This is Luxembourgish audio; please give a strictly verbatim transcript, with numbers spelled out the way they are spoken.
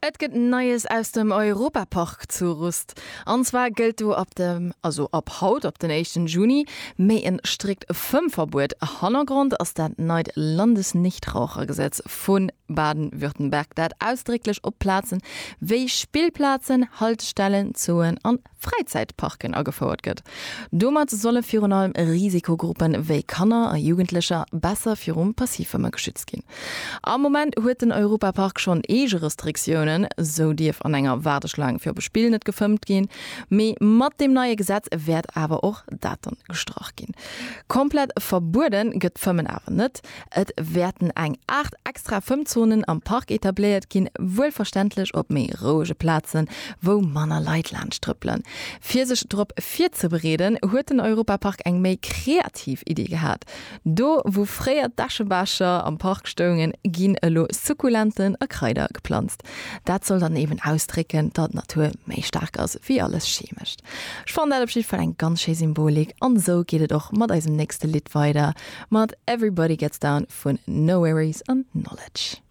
Et gëtt Neies aus dem Europapark zu Rust. An zwar gëllt do ab dem also ab haut op den éischten Juni méi en strikt Fëmmverbuet. Hannergrond ass dat neit Landesnichtrauchergesetz vu Baden-Württemberg, dat ausdrécklech op Plazen wéi Spillplazen, Haltestellen, Zooen an Fräizäitparken agefouert gëtt. Domat solle virun allem Risikogruppen wéi Kanner a Jugendlecher besser virum Passivfëmme geschützt ginn. Am Moment huet den Europapark schonn eege Restriktiounen, sou dierf an enger Waardeschlaang fir op e Spill net gefëmmt ginn, mee mat deem neie Gesetz wäert awer och dat dann gestrach ginn. Komplett verbueden gëtt d'Fëmmen awer net, et wäerten eng aacht extra Fëmmzonen am Park etabléiert ginn, wuelverständlech op méi rouege Plazen, wou manner Leit laanscht trëppelen. Fir sech drop virzebereeden, huet den Europapark eng méi kreativ Iddi gehat. Do wou fréier d'Äschebecher am Park stoungen, ginn elo Sukkulenten a Kraider geplanzt. Dat soll dann eben ausdrécken, datt d'Natur méi staark ass wéi alles Chemescht. Ech fannen dat op jidde Fall eng ganz schéi Symbolik an esou geet et och mat eisem nächste Lidd weider, mat Everybody Gets Down vun NxWorries an Knxwledge.